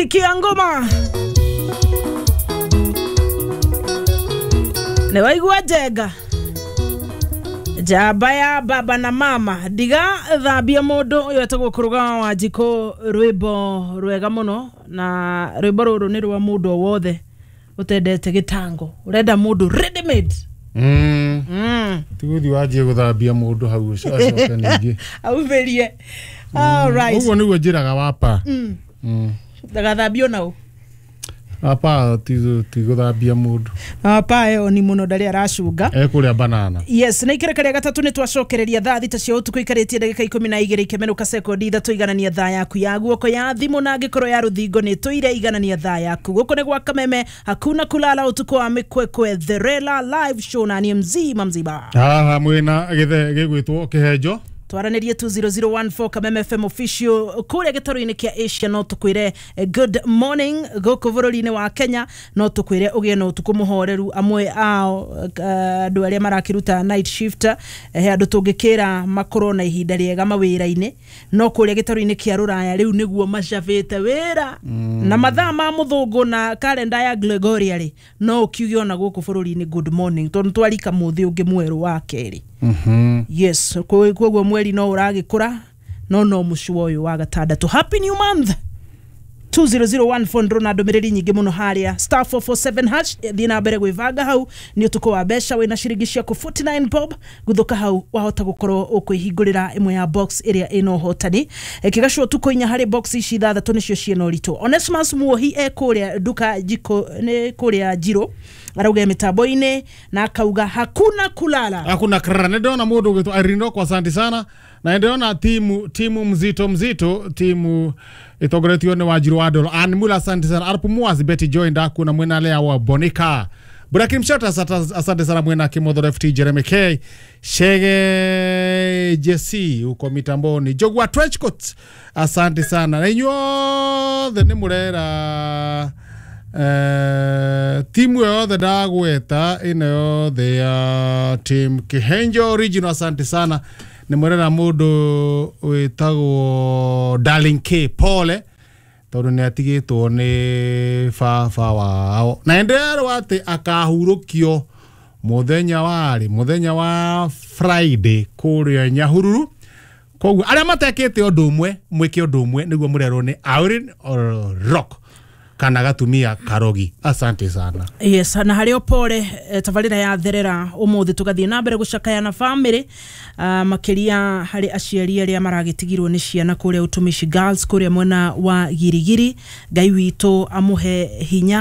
Sikia ngoma nĩ waigua njenga njamba ya baba na mama ndiga thambia mũndũ ũyũ etagwo kũrũgama wa njikũ rwĩmbo rwega mũno na rwĩmbo rũrũ nĩ rwa mũndũ o wothe ũtendete gĩtango ũrenda mũndũ ready made. Tiguthi wanjie guthambia mundu hau acoke ningĩ Aumĩrie. All right. Ũguo nĩguo njĩraga wapa. Ndagathambio nau. Wapa ti gũthambia mũndũ. Wapa ĩyo ni mũno ndarĩ aracunga. Ekũrĩa banana. Yes, na ikereka rĩa gatatũ nĩ twacokereria thaa 6 cia ũtukũ ikarĩtie ndagĩka 12 ikemenũka sekondi 3 iganania thaa yaku ya guoko ya thimũ na angĩkorwo ya rũthingo nĩ tũire iganania thaa yaku. Gũkũ nĩ gwa Kameme hakuna kulala ũtukũ wa mĩkwekwe The Rela live show na niĩ mzima mzima. Haha mwĩna gĩthe gĩgwĩtwo kĩhenjo. Twaranĩrie 20014 Kameme FM official kũrĩa gĩtarũ-inĩ kĩa Asia no tũkwĩre good morning gũkũ bũrũri-inĩ wa Kenya no tũkwĩre ũgĩe na ũtukũ mũhoreru amwe ao andũ arĩa marakĩruta night shift he andũ tũngĩkĩra makorwo na ihinda rĩega mawĩra-inĩ no kũrĩa gĩtarũ-inĩ kĩa Rũraya rĩu nĩguo macabĩte wĩra na mathaa ma mũthũngũ na kalenda ya Gregoria rĩ no ũkiuge ona gũkũ bũrũri-inĩ good morning tondũ twarika mũthĩ ũngĩ mwerũ wa kerĩ. Yes, koguo mweri no ũragĩkũra no no mũcua ũyũ wa gatandatũ. Happy new month 20014 ndĩrona ndũmĩrĩri nyingĩ mũno harĩa star 447 hash thiĩ na mbere gwĩbanga hau nĩ ũtukũ wa mbeca wĩna ciringi ciaku 49 bob guthũka hau wahota gũkorwo ũkwĩhingũrĩra ĩmwe ya box ĩrĩa ĩna ũhotani kĩgacwo ũtukũ inya harĩ box ici ithathatũ nĩcio ciĩna ũritũ. Onesmus Muohi e kũrĩa nduka jiko nĩ kũrĩa Njirũ arauga mitambo-inĩ na akauga hakuna kulala hakuna krara. Nĩndĩrona mũndũ ũgwĩtwo Irene kwa asante sana na nĩndĩrona timu mzito mzito timu ĩtongoretio nĩ Wanjiru wa Ndolo Ann Mula asante sana Arp Muazi Betty Joy ndaku na mwena Lea wa Bonika Burakim Mshota asante sana mwena Kimodho FT Jeremy K Shege Jesse uko mitamboni Jogwa Trenchcoat asante sana na inyuothe nĩ mũrera timu yothe ndagweta ĩno yothe ya team Kihenjo original asante sana nĩ mũrera mũndũ wĩtagwo Darling K Pole tondũ nĩ atigĩtwo nĩ baba wao na nderwo atĩ akahurũkio mũthenya wa Friday kũrĩa Nyahururu. Koguo arĩa matekĩte ũndũ ũmwe mwĩke ũndũ ũmwe nĩguo mũrerwo nĩ Aurin Rock kana gatumia karogi asante sana. Yes, na harĩ opore tabarĩra ya therera ũmũthĩ tũgathiĩ na mbere gũcakaya na family makĩria harĩ aciari arĩa maragĩtigirwo nĩ ciana kũrĩa Utumishi Girls kũrĩa mwena wa Girigiri. Ngai witũ amũhe hinya.